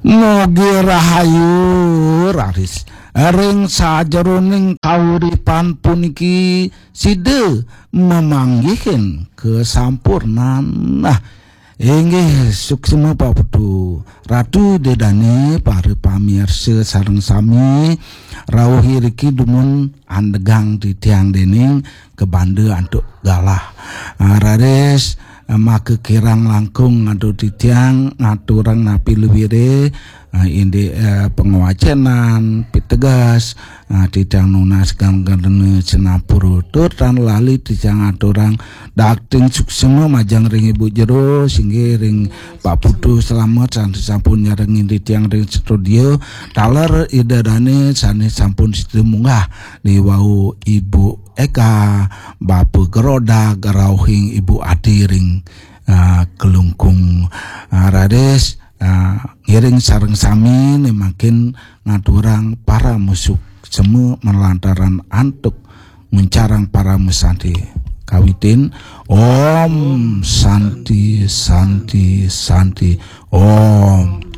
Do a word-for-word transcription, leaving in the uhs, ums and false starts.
Mogi rahayu raris ring sajeroning kauripan puniki sida mamanggihin kasampurnan. Nah, inggih suksma Pak Putu, Ratu Ida Dane, para pamirsa sareng sami, rauh iriki dumun andegang titiang dening kabanda antuk galah. Ah, raris, ah, maka kirang langkung antuk titiang ngaturang napi luire, ah, indik, eh, pangwacenan, piteges, ah, titiang nunas ganggarna sinampura tur tan lali titiang aturang dakting suksma majeng ring Ibu Jero, singgih ring Pak Putu Slamet sane sampun nyarengin titiang ring studio, taler Ida Dane sane sampun sida munggah di wau Ibu Eka, Bapa Gerodag, rauhing Ibu Adi ring, ah, Kelungkung. Ah, raris, ah, ngiring sareng sami ne mangkin ngaturang parama suksma malantaran antuk nguncarang parama santi. Kawitin, Om Santi, Santi, Santi, Om.